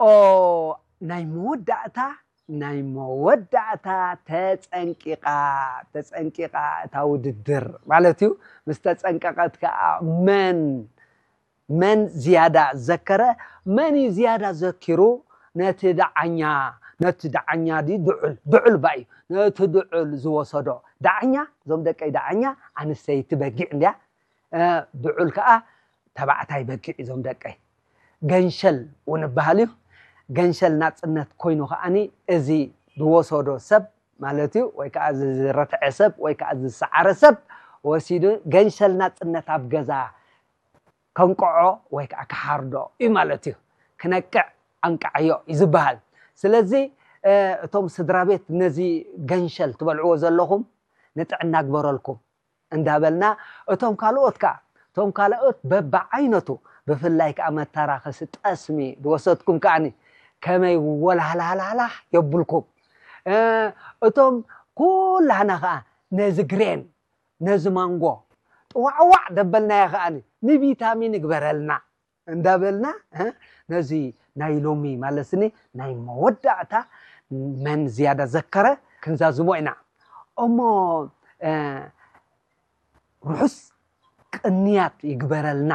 ኦ ናይ መወዳእታ ናይ መወዳእታ ተጸንቂቓ ተጸንቂቓ እታ ውድድር ማለት እዩ። ምስ ተጸንቀቐት ከዓ መን መን ዝያዳ ዘከረ፣ መን እዩ ዝያዳ ዘኪሩ ነቲ ደዓኛ ነቲ ደዓኛ ድዩ ድዑል ድዑል ባ እዩ ነቲ ድዑል ዝወሰዶ ደዓኛ እዞም ደቀይ ደዓኛ ኣንስተይቲ በጊዕ እንድያ። ድዑል ከዓ ተባዕታይ በጊዕ እዞም ደቀይ። ገንሸል እውን ይበሃል እዩ። ገንሸል ናፅነት ኮይኑ ከዓኒ እዚ ዝወሰዶ ሰብ ማለት እዩ ወይ ከዓ ዝረትዐ ሰብ ወይ ከዓ ዝሰዓረ ሰብ ወሲዱ ገንሸል ናፅነት ኣብ ገዛ ከንቅዖ ወይ ከዓ ክሓርዶ እዩ ማለት እዩ። ክነቅዕ ኣንቃዓዮ እዩ ዝበሃል። ስለዚ እቶም ስድራ ቤት ነዚ ገንሸል ትበልዕዎ ዘለኹም ንጥዕና ግበረልኩም እንዳበልና እቶም ካልኦት ከዓ እቶም ካልኦት በብዓይነቱ ብፍላይ ከዓ መተራኸሲ ጠስሚ ዝወሰድኩም ከዓኒ ከመይ ወላህላህላህላህ የብልኩም። እቶም ኩላህና ከዓ ነዚ ግሬን ነዚ ማንጎ ጥዋዕዋዕ ደበልናዮ ከዓኒ ንቪታሚን ይግበረልና እንዳበልና ነዚ ናይ ሎሚ ማለትኒ ናይ መወዳእታ መን ዝያዳ ዘከረ ክንዛዝሞ ኢና። እሞ ርሑስ ቅንያት ይግበረልና።